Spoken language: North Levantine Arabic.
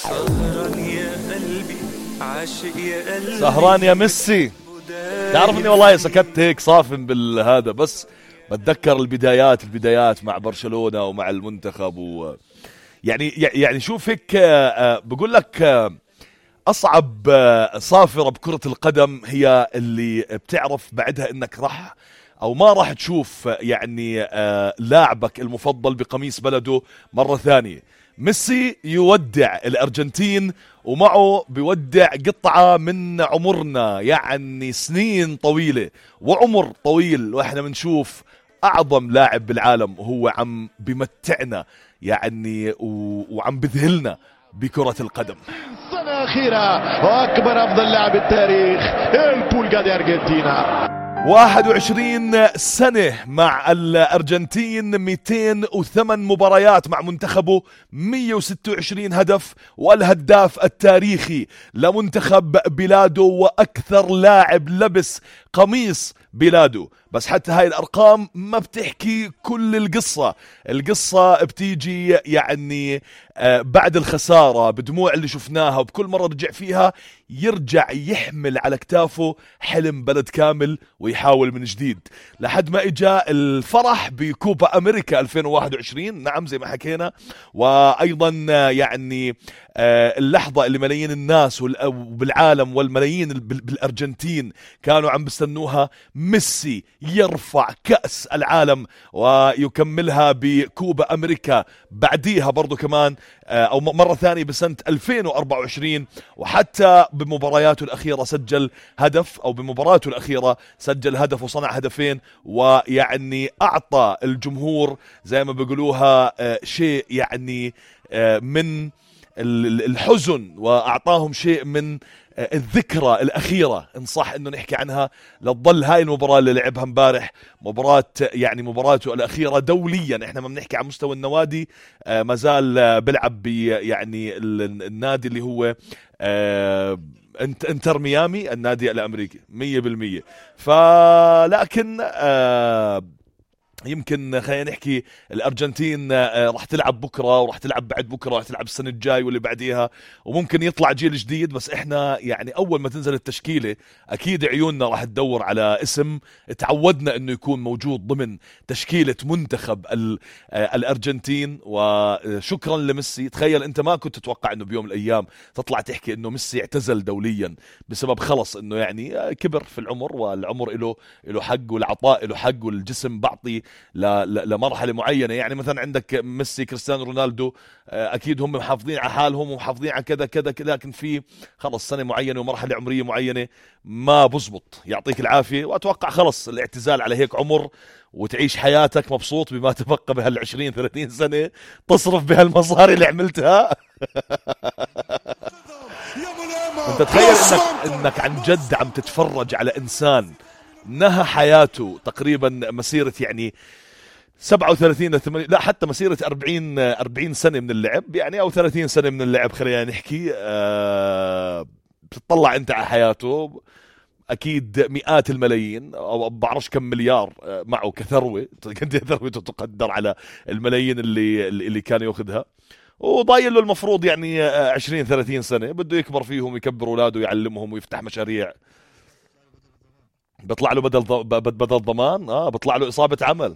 سهران يا قلبي عاشق يا قلبي سهران يا ميسي. تعرف اني والله سكت هيك صافن بالهذا، بس بتذكر البدايات مع برشلونة ومع المنتخب يعني شوف هيك بقول لك أصعب صافرة بكرة القدم هي اللي بتعرف بعدها إنك ما راح تشوف يعني لاعبك المفضل بقميص بلده مرة ثانية. ميسي يودع الأرجنتين ومعه بيودع قطعة من عمرنا، يعني سنين طويلة وعمر طويل، وإحنا بنشوف أعظم لاعب بالعالم وهو عم بمتعنا يعني وعم بذهلنا بكرة القدم. سنة أخيرة وأكبر أفضل لاعب التاريخ البولغا دي أرجنتينا. 21 سنة مع الأرجنتين، 208 مباريات مع منتخبه، 126 هدف، والهداف التاريخي لمنتخب بلاده وأكثر لاعب لبس قميص بلاده. بس حتى هاي الأرقام ما بتحكي كل القصة بتيجي يعني بعد الخسارة، بدموع اللي شفناها، وبكل مرة رجع فيها يرجع يحمل على كتافه حلم بلد كامل ويحاول من جديد، لحد ما اجا الفرح بكوبا أمريكا 2021. نعم زي ما حكينا، وأيضا يعني اللحظة اللي ملايين الناس بالعالم والملايين بالأرجنتين كانوا عم بستنوها، ميسي يرفع كأس العالم ويكملها بكوبا أمريكا بعديها برضو كمان أو مرة ثانية بسنة 2024. وحتى بمبارياته الأخيرة سجل هدف، أو بمباراته الأخيرة سجل هدف وصنع هدفين، ويعني أعطى الجمهور زي ما بيقولوها شيء يعني من الحزن، وأعطاهم شيء من الذكرى الأخيرة إن صح إنه نحكي عنها، لتظل هاي المباراة اللي لعبها امبارح مباراته الأخيرة دوليا. إحنا ما بنحكي عن مستوى النوادي، ما زال بيلعب يعني النادي اللي هو انتر ميامي، النادي الأمريكي 100%. فلكن يمكن خلينا نحكي الأرجنتين راح تلعب بكرة، وراح تلعب بعد بكرة، راح تلعب السنة الجاي واللي بعديها، وممكن يطلع جيل جديد. بس احنا يعني أول ما تنزل التشكيلة أكيد عيوننا راح تدور على اسم تعودنا انه يكون موجود ضمن تشكيلة منتخب الأرجنتين. وشكرا لميسي. تخيل انت ما كنت تتوقع انه بيوم من الأيام تطلع تحكي انه ميسي اعتزل دوليا بسبب خلص انه يعني كبر في العمر، والعمر له حق، والعطاء له حق، والجسم بعطي لمرحلة معينة. يعني مثلا عندك ميسي، كريستيانو رونالدو، أكيد هم محافظين على حالهم ومحافظين على كذا كذا، لكن في خلص سنة معينة ومرحلة عمرية معينة ما بزبط. يعطيك العافية، وأتوقع خلص الاعتزال على هيك عمر، وتعيش حياتك مبسوط بما تبقى بهال20-30 سنة تصرف بهالمصاري اللي عملتها. انت تخيل انك عن جد عم تتفرج على انسان نهى حياته تقريبا مسيرة يعني 37 لا حتى مسيرة 40 سنة من اللعب يعني، او 30 سنة من اللعب خلينا نحكي. بتطلع انت على حياته اكيد مئات الملايين او بعرفش كم مليار معه كثروة، ثروته تقدر على الملايين اللي كان ياخذها، وضايل له المفروض يعني 20-30 سنة بده يكبر فيهم، يكبر اولاده، يعلمهم، ويفتح مشاريع. بيطلع له بدل ضمان، بيطلع له إصابة عمل.